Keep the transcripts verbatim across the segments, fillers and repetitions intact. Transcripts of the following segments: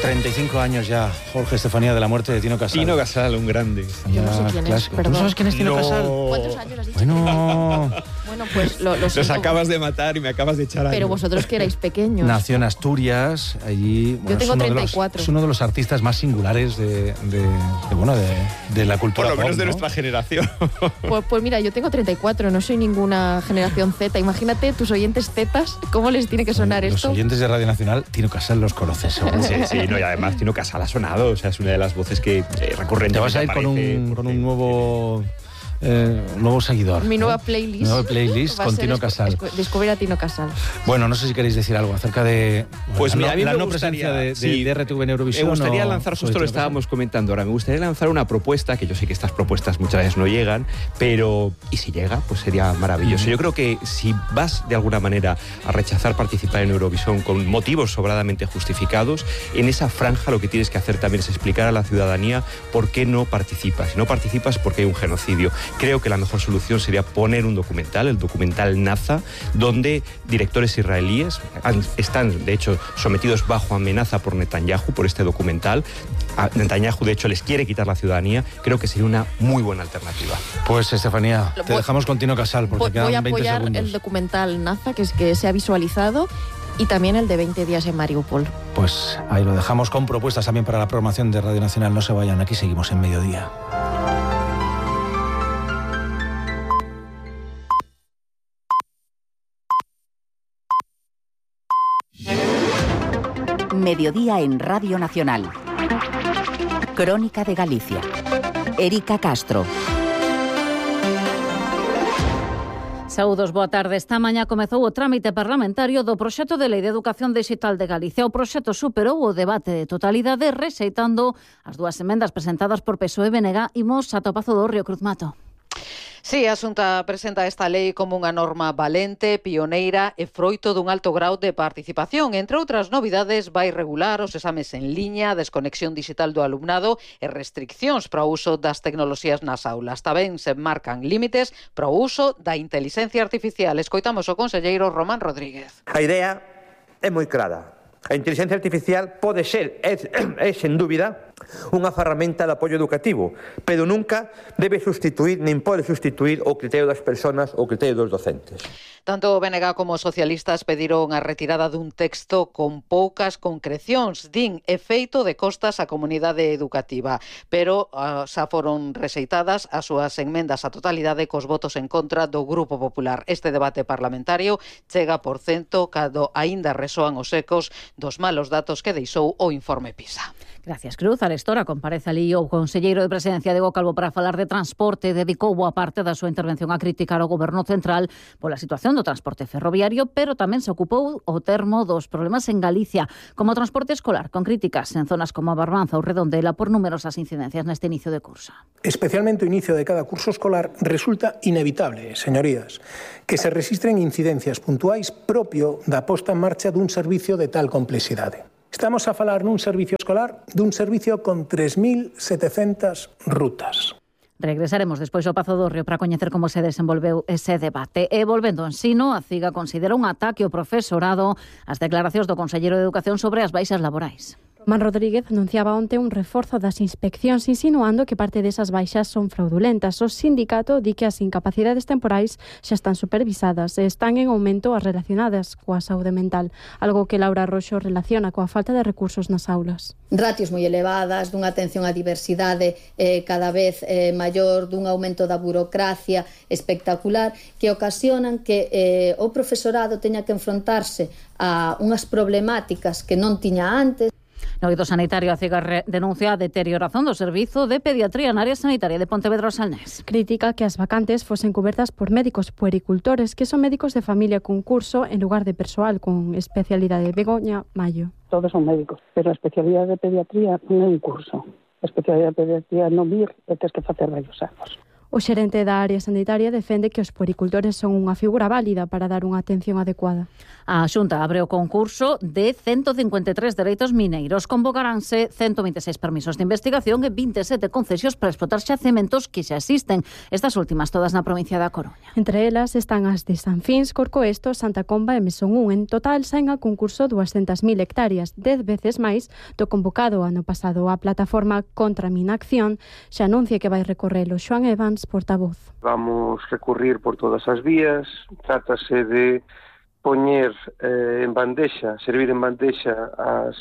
treinta y cinco años ya, Jorge, Estefanía, de la muerte de Tino Casal. Tino Casal, un grande. Yo no sé quién es, perdón. ¿Tú sabes quién es Tino No. Casal? ¿Cuántos años has dicho? Bueno, Bueno, pues lo, lo Los siento, acabas de matar y me acabas de echar pero años. vosotros que erais pequeños. nació en Asturias, allí... Bueno, Yo tengo es uno treinta y de los- cuatro. Es uno de los artistas más singulares de, de, de, bueno, de, de la cultura Por lo menos pop, de ¿no? nuestra generación. Pues, pues mira, yo tengo treinta y cuatro, no soy ninguna generación Z. Imagínate tus oyentes Zetas, ¿cómo les tiene que sonar Los esto? oyentes de Radio Nacional, Tino Casal los conoces, seguro. Sí, sí, no, y además Tino Casal ha sonado, o sea, es una de las voces que eh, recurrentemente Te vas a ir con aparece un, por con ahí. un nuevo, eh, un nuevo seguidor. Mi nueva ¿eh? playlist. Nueva playlist va a con ser Tino descu- Casal. descu- Descubrir a Tino Casal. Bueno, no sé si queréis decir algo acerca de Pues la, mira, no, a mí la me no gustaría- presencia de, de, sí, de R T V en Eurovisión. Me gustaría o lanzar, sobre justo lo Tino Casal. estábamos comentando ahora, me gustaría lanzar una propuesta, que yo sé que estas propuestas muchas veces no llegan, pero y si llega, pues sería maravilloso. Yo creo que si vas de alguna manera a rechazar participar en Eurovisión con motivos sobradamente justificados, en esa franja lo que tienes que hacer también es explicar a la ciudadanía por qué no participas. Si no participas, porque hay un genocidio. Creo que la mejor solución sería poner un documental, el documental Naza, donde directores israelíes han- están, de hecho, sometidos bajo amenaza por Netanyahu, por este documental. A Netanyahu, de hecho, les quiere quitar la ciudadanía. Creo que sería una muy buena alternativa. Pues, Estefanía, Lo te voy- dejamos con Tino Casal, porque Voy, quedan voy a veinte apoyar segundos. el documental Naza, que, es, que se ha visualizado, y también el de veinte días en Mariupol. Pues ahí lo dejamos con propuestas también para la programación de Radio Nacional. No se vayan, aquí seguimos en Mediodía. Mediodía en Radio Nacional. Crónica de Galicia. Erika Castro. Saúdos, boa tarde. Esta mañá comezou o trámite parlamentario do proxecto de Lei de Educación Digital de Galicia. O proxecto superou o debate de totalidade rexeitando as dúas emendas presentadas por P S O E e B N G. Imos ata o Pazo do Río Cruz Mato. Sí, a Xunta presenta esta lei como unha norma valente, pioneira e froito dun alto grau de participación. Entre outras novidades, vai regular os exames en liña, a desconexión digital do alumnado e restriccións para o uso das tecnoloxías nas aulas. Tamén se marcan límites para o uso da inteligencia artificial. Escoitamos o conselleiro Román Rodríguez. A idea é moi clara. A inteligencia artificial pode ser, é, é sen dúbida, unha ferramenta de apoio educativo, pero nunca debe sustituir, nin pode sustituir o criterio das persoas ou o criterio dos docentes. Tanto o B N G como os socialistas pediron a retirada dun texto con poucas concrecións, din efeito de costas á comunidade educativa, pero uh, xa foron rexeitadas as súas enmendas á totalidade cos votos en contra do Grupo Popular. Este debate parlamentario chega por cento cando aínda resoan os ecos dos malos datos que deixou o informe PISA. Gracias, Cruz. Arestora comparece ali o conselleiro de Presidencia Diego Calvo para falar de transporte. Dedicou boa parte da súa intervención a criticar o Goberno Central pola situación do transporte ferroviario, pero tamén se ocupou o termo dos problemas en Galicia, como o transporte escolar, con críticas en zonas como a Barbanza ou Redondela por numerosas incidencias neste inicio de curso. Especialmente o inicio de cada curso escolar resulta inevitable, señorías, que se registren incidencias puntuais propio da posta en marcha dun servicio de tal complexidade. Estamos a falar nun servicio escolar dun servicio con tres mil setecentas rutas. Regresaremos despois ao Pazo do Río para coñecer como se desenvolveu ese debate. E volvendo ao ensino, a CIGA considera un ataque ao profesorado as declaracións do conselleiro de Educación sobre as baixas laborais. Román Rodríguez anunciaba onte un reforzo das inspeccións, insinuando que parte desas baixas son fraudulentas. O sindicato di que as incapacidades temporais xa están supervisadas e están en aumento as relacionadas coa saúde mental, algo que Laura Roxo relaciona coa falta de recursos nas aulas. Ratios moi elevadas, dunha atención á diversidade eh, cada vez eh, maior, dun aumento da burocracia espectacular, que ocasionan que eh, o profesorado teña que enfrontarse a unhas problemáticas que non tiña antes. No eido sanitario, a CIGA denuncia a deterioración do servizo de pediatría na área sanitaria de Pontevedra Salnés. Critica que as vacantes fosen cobertas por médicos puericultores, que son médicos de familia con curso en lugar de persoal con especialidade. Begoña Mayo. Todos son médicos, pero a especialidade de pediatría non é un curso. A especialidade de pediatría non vir e tens que facer varios anos. O xerente da área sanitaria defende que os puericultores son unha figura válida para dar unha atención adecuada. A Xunta abre o concurso de ciento cincuenta e tres dereitos mineiros. Convocaránse ciento vinte e seis permisos de investigación e vinte e sete concesións para explotar xacementos que xa existen. Estas últimas todas na provincia da Coruña. Entre elas están as de San Fins, Corcoesto, Santa Comba e Mesón un. En total saen a concurso duascentas mil hectáreas, dez veces máis do convocado ano pasado. A plataforma Contra Minacción xa anuncia que vai recorrelo. Xoan Evans, portavoz. Vamos recurrir por todas as vías. Trátase de poñer eh, en bandexa, servir en bandexa as,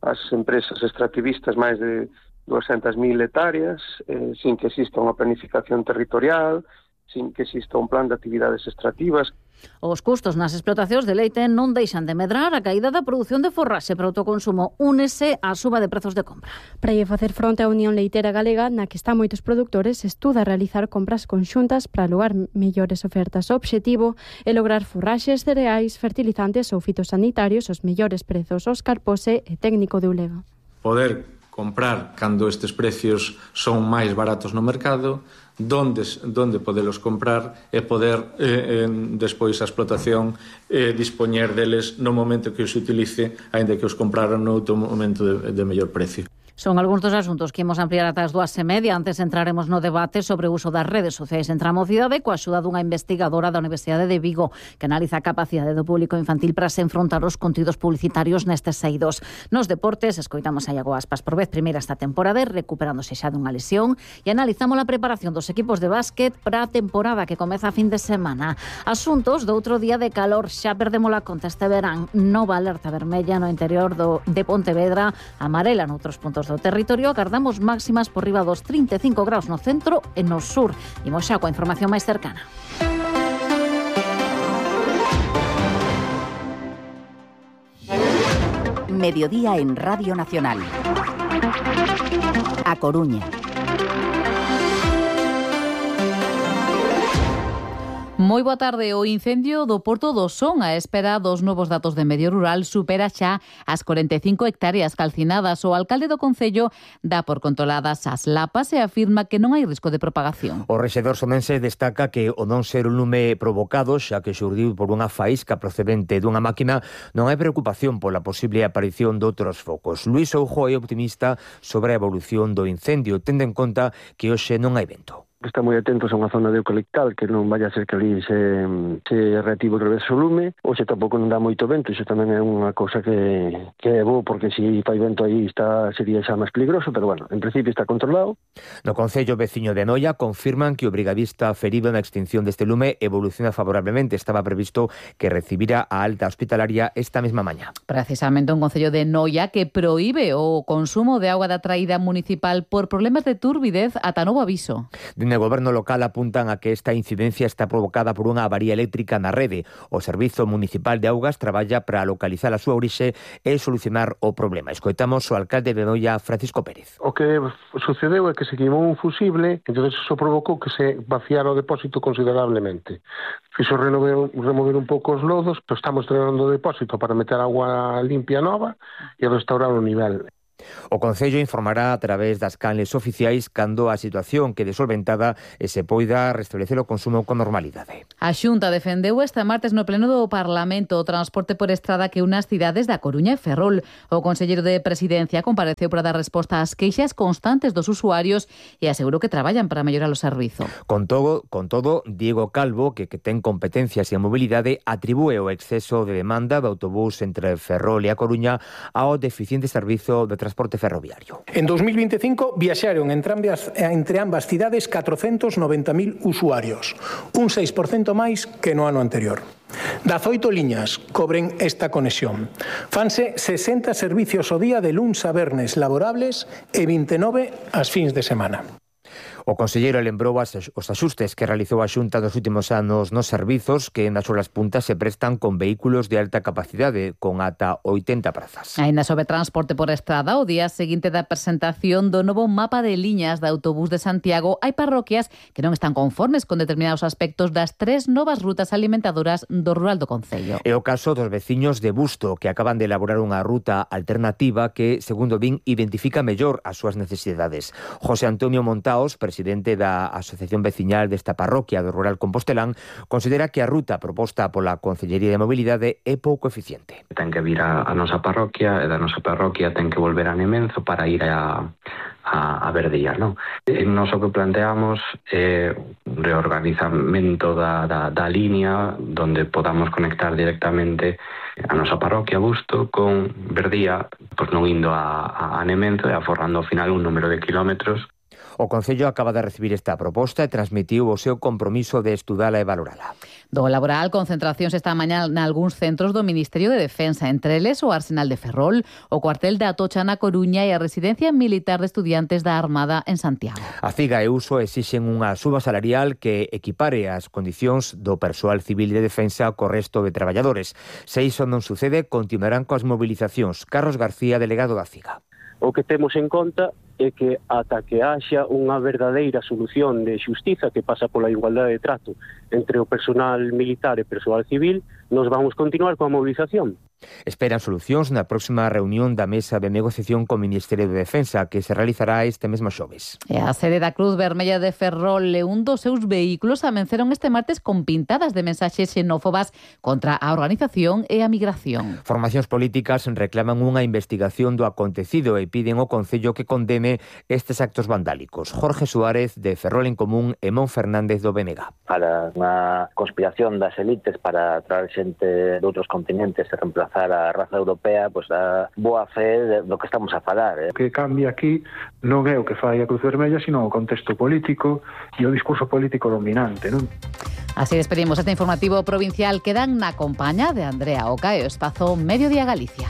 as empresas extractivistas máis de duascentas mil hectáreas, eh, sin que exista unha planificación territorial, sin que exista un plan de actividades extractivas. Os custos nas explotacións de leite non deixan de medrar. A caída da produción de forraxe para autoconsumo únese á suba de prezos de compra. Para lle facer fronte á Unión Leiteira Galega, na que están moitos produtores, estuda realizar compras conxuntas para alugar mellores ofertas. O obxectivo é lograr forraxes, cereais, fertilizantes ou fitosanitarios os mellores prezos. Óscar Pose é técnico de Ulega. Poder comprar cando estes precios son máis baratos no mercado, donde, donde podelos comprar e poder eh, en, despois a explotación eh, dispoñer deles no momento que os utilice, aínda que os compraron no outro momento de, de mellor precio. Son algúns dos asuntos que imos ampliar ata as dúas e media. Antes entraremos no debate sobre o uso das redes sociais entre a mocidade coa axuda dunha investigadora da Universidade de Vigo que analiza a capacidade do público infantil para se enfrontar os contidos publicitarios nestes eidos. Nos deportes, escoitamos a Iago Aspas por vez primeira esta temporada, recuperándose xa dunha lesión, e analizamos a preparación dos equipos de básquet para a temporada que comeza a fin de semana. Asuntos do outro día de calor, xa perdemos a conta este verán. Nova alerta vermella no interior do, de Pontevedra, amarela noutros puntos do territorio. Agardamos máximas por riba dos trinta e cinco graus no centro e no sur. Imos xa coa información máis cercana. Mediodía en Radio Nacional. A Coruña. Moi boa tarde. O incendio do Porto do Son, a espera dos novos datos de medio rural, supera xa as corenta e cinco hectáreas calcinadas. O alcalde do concello dá por controladas as lapas e afirma que non hai risco de propagación. O rexedor somense destaca que o non ser un lume provocado, xa que xurdiu por unha faísca procedente dunha máquina, non hai preocupación pola posible aparición de outros focos. Luís Oujo é optimista sobre a evolución do incendio, tendo en conta que hoxe non hai vento. Está moi atentos a unha zona de eucaliptal, que non vaya a ser que ali se, se reactive outra vez o lume, ou se tampouco non dá moito vento. Iso tamén é unha cousa que, que é bo, porque se fai vento aí está, sería xa máis peligroso, pero bueno, en principio está controlado. No concello veciño de Noia confirman que o brigadista ferido na extinción deste lume evoluciona favorablemente. Estaba previsto que recibira a alta hospitalaria esta mesma mañá. Precisamente un concello de Noia que proíbe o consumo de auga da traída municipal por problemas de turbidez ata novo aviso. No goberno local apuntan a que esta incidencia está provocada por unha avaría eléctrica na rede. O Servizo Municipal de Augas traballa para localizar a súa orixe e solucionar o problema. Escoitamos o alcalde de Noia, Francisco Pérez. O que sucedeu é que se queimou un fusible, entón eso provocou que se vaciara o depósito considerablemente. Fixo remover, remover un pouco os lodos, pero estamos drenando o depósito para meter agua limpia nova e restaurar o nivel. O Concello informará a través das canles oficiais cando a situación quede solventada e se poida restablecer o consumo con normalidade. A Xunta defendeu este martes no pleno do Parlamento o transporte por estrada que une as cidades da Coruña e Ferrol. O conselleiro de Presidencia compareceu para dar resposta ás queixas constantes dos usuarios e asegurou que traballan para mellorar o servizo. Con todo, con todo Diego Calvo, que, que ten competencias en mobilidade, atribúe o exceso de demanda do autobús entre Ferrol e a Coruña ao deficiente servizo de transporte ferroviario. En dos mil veinticinco viaxaron entre ambas, entre ambas cidades catrocentos noventa mil usuarios, un seis por cento máis que no ano anterior. dezaoito liñas cobren esta conexión. Fanse sesenta servicios ao día de luns a vernes laborables e vinte e nove as fins de semana. O conselleiro lembrou os axustes que realizou a Xunta nos últimos anos nos servizos que nas horas puntas se prestan con vehículos de alta capacidade, con ata oitenta prazas. Ainda sobre transporte por estrada, o día seguinte da presentación do novo mapa de liñas de autobús de Santiago, hai parroquias que non están conformes con determinados aspectos das tres novas rutas alimentadoras do rural do concello. É o caso dos veciños de Busto, que acaban de elaborar unha ruta alternativa que, segundo din, identifica mellor as súas necesidades. José Antonio Montaos, presidente presidente da Asociación Veciñal desta parroquia do rural compostelán, considera que a ruta proposta pola Concellería de Mobilidade é pouco eficiente. Ten que vir a, a nosa parroquia e da nosa parroquia ten que volver a Nemenzo para ir a a, a Verdía, non? E nós o que planteamos é un reorganizamento da, da, da línea donde podamos conectar directamente a nosa parroquia Busto con Verdía, pois non indo a, a Nemenzo e aforrando ao final un número de kilómetros. O Concello acaba de recibir esta proposta e transmitiu o seu compromiso de estudala e valorala. Do laboral, concentracións esta mañá nalgúns centros do Ministerio de Defensa, entre eles o Arsenal de Ferrol, o cuartel da Atocha na Coruña e a Residencia Militar de Estudiantes da Armada en Santiago. A Figa e Uso exixen unha suba salarial que equipare as condicións do persoal civil de defensa co resto de traballadores. Se iso non sucede, continuarán coas mobilizacións. Carlos García, delegado da Figa. O que temos en conta é que ata que haxa unha verdadeira solución de xustiza que pasa pola igualdade de trato entre o personal militar e persoal civil, nos vamos continuar coa movilización. Esperan solucións na próxima reunión da mesa de negociación co Ministerio de Defensa que se realizará este mesmo xoves. E a sede da Cruz Vermella de Ferrol e un dos seus vehículos amenceron este martes con pintadas de mensaxes xenófobas contra a organización e a migración. Formacións políticas reclaman unha investigación do acontecido e piden ao Concello que condene estes actos vandálicos. Jorge Suárez, de Ferrol en Común, e Mon Fernández, do B N G. Para unha conspiración das elites para traer xente de outros continentes e reemplazar a raza europea, pois a boa fe do que estamos a falar. Eh? O que cambia aquí non é o que fai a Cruz Vermella, sino o contexto político e o discurso político dominante, non? Así despedimos este informativo provincial que dan na compaña de Andrea Oca e o espazo Mediodía Galicia.